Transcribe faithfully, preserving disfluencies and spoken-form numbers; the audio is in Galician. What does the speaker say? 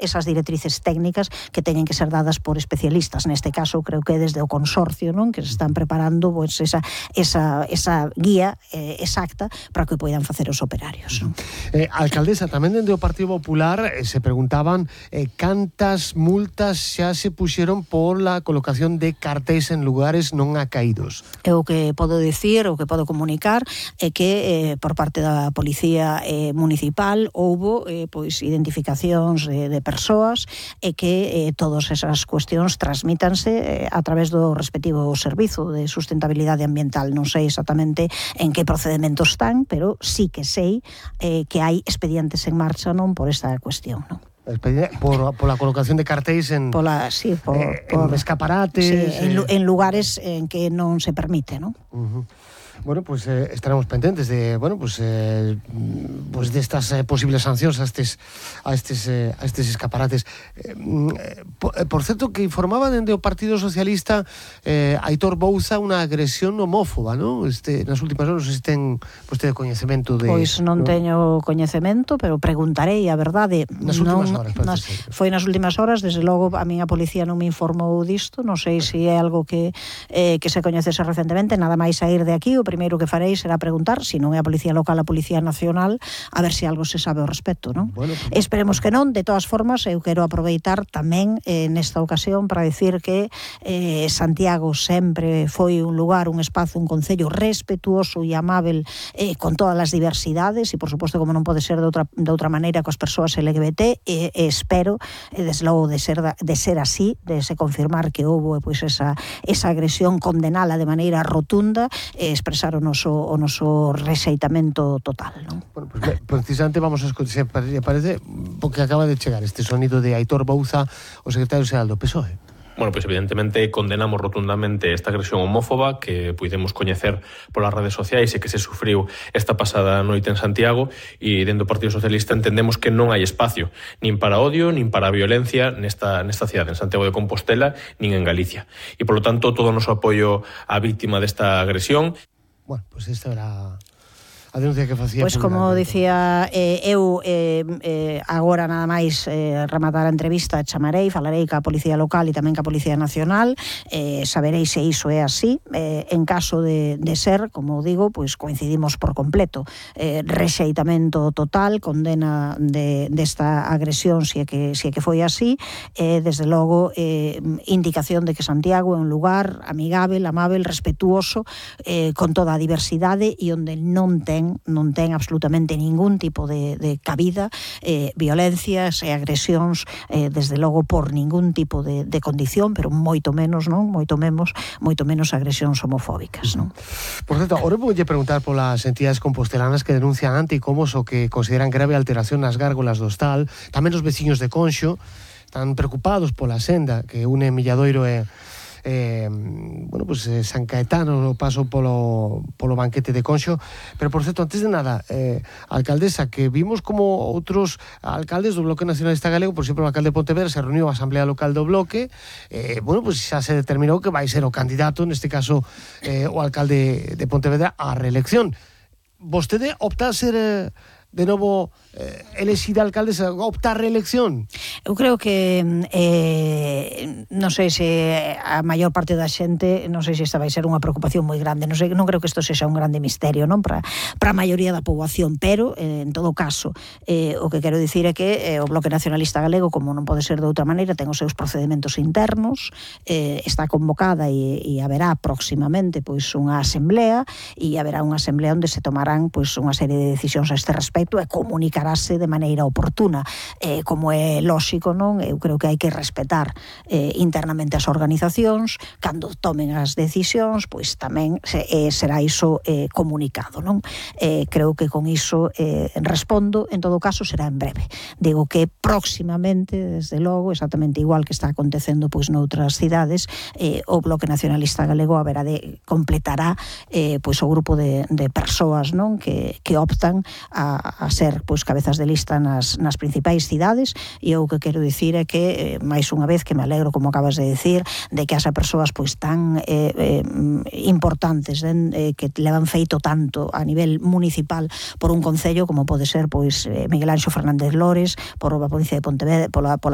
esas directrices técnicas que teñen que ser dadas por especialistas. Neste caso, creo que desde o consorcio, non, que se están preparando pois, esa, esa, esa guía eh, exacta para que poidan facer os operarios. Non? Eh, alcaldesa, tamén dende o Partido Popular eh, se preguntaban eh, cantas multas xa se puxeron por la colocación de cartéis en lugares non acaídos. E o que podo dicir, o que podo comunicar é que eh, por parte da Policía eh, Municipal houbo eh, pois identificacións de, de persoas e que eh, todas esas cuestións transmítanse eh, a través do respectivo servizo de sustentabilidade ambiental. Non sei exactamente en que procedementos están, pero sí que sei eh, que hai expedientes en marcha non por esta cuestión, non? Por, por la colocación de cartéis en, Pola, sí, por, eh, por, en escaparates, sí, en, eh... en lugares en que non se permite, non? Uh-huh. Bueno, pues eh, estaremos pendentes de, bueno, pues, eh, pues de estas eh, posibles sancións a estes a estes eh, a estes escaparates. Eh, por, por certo que informaba dende o Partido Socialista eh, Aitor Bouza unha agresión homófoba, ¿no? Este nas últimas horas se ten pues, de coñecemento de Pois non ¿no? teño coñecemento, pero preguntarei a verdade. Nas últimas non, horas, nas, foi nas últimas horas, desde logo a miña policía non me informou disto, non sei se é algo que eh, que se coñecese recentemente, nada máis sair de aquí, o primeiro que farei será preguntar, se non é a Policía Local, a Policía Nacional, a ver se algo se sabe ao respecto, non? Bueno, pues, esperemos que non. De todas formas, eu quero aproveitar tamén eh, nesta ocasión para decir que eh, Santiago sempre foi un lugar, un espazo, un concello respetuoso e amável eh, con todas as diversidades e, por suposto, como non pode ser de outra, de outra maneira coas persoas L G B T, e, e espero, e desde logo de ser, de ser así, de se confirmar que houve pois, esa, esa agresión, condenala de maneira rotunda e expresar o noso, o noso rexeitamento total, non? Bueno, pues, precisamente vamos a escuchar, parece, porque acaba de chegar este sonido de Aitor Bouza, o secretario xeral do P S O E. Bueno, pois evidentemente condenamos rotundamente esta agresión homófoba que puidemos coñecer polas redes sociais e que se sufriu esta pasada noite en Santiago, e dentro do Partido Socialista entendemos que non hai espacio nin para odio, nin para violencia nesta, nesta cidade, en Santiago de Compostela, nin en Galicia. E, polo tanto, todo o noso apoio á víctima desta agresión. Bueno, pois pues esta era a denuncia que facía. Pois pues como dicía eh, eu eh, eh, agora nada máis eh, rematar a entrevista, chamarei, falarei ca Policía Local e tamén ca Policía Nacional, eh, saberei se iso é así. Eh, en caso de, de ser, como digo, pois pues coincidimos por completo. Eh, rexeitamento total, condena de, desta agresión se é que, se é que foi así, eh, desde logo eh, indicación de que Santiago é un lugar amigável, amável, respetuoso, eh, con toda a diversidade e onde non ten non ten absolutamente ningún tipo de, de cabida eh, violencias e agresións eh, desde logo por ningún tipo de, de condición, pero moito menos, non? Moito menos, moito menos agresións homofóbicas, non? Por certo, ahora vou preguntar polas entidades compostelanas que denuncian anticomos o que consideran grave alteración nas gárgolas do Hostal, tamén os veciños de Conxo están preocupados pola senda que une Milladoiro e Eh, bueno, pues eh, San Caetano o paso polo, polo banquete de Conxo. Pero, por certo, antes de nada, eh, alcaldesa, que vimos como outros alcaldes do Bloque Nacionalista Galego, por exemplo, o alcalde de Pontevedra se reuniu a Asamblea Local do Bloque, eh, bueno, pues xa se determinou que vai ser o candidato, neste caso eh, o alcalde de Pontevedra, á reelección. Vostede opta a ser eh, de novo eh, elexida alcaldesa, opta a reelección? Eu creo que eh, non sei se a maior parte da xente, non sei se esta vai ser unha preocupación moi grande, non sei, non creo que isto sexa un grande misterio, non, para para a maioría da poboación, pero eh, en todo caso, eh, o que quero dicir é que eh, o Bloque Nacionalista Galego, como non pode ser de outra maneira, ten os seus procedementos internos, eh, está convocada e, e haberá próximamente pois unha asamblea, e haberá unha asamblea onde se tomarán pois unha serie de decisións a este respecto e comunicarase de maneira oportuna, eh, como é lóxico, non? Eu creo que hai que respetar eh, internamente as organizacións, cando tomen as decisións, pois tamén se, eh, será iso eh, comunicado, non? Eh, creo que con iso eh, respondo, en todo caso será en breve. Digo que próximamente, desde logo, exactamente igual que está acontecendo pois noutras cidades, eh, o Bloque Nacionalista Galego haberá de completará eh, pois o grupo de, de persoas, non? Que, que optan a a ser pois cabezas de lista nas, nas principais cidades, e eu o que quero dicir é que, eh, máis unha vez, que me alegro, como acabas de dicir, de que as persoas pois tan eh, eh, importantes, eh, que levan feito tanto a nivel municipal por un concello como pode ser pois eh, Miguel Anxo Fernández Lores, por a provincia de Pontevedra, pola, pola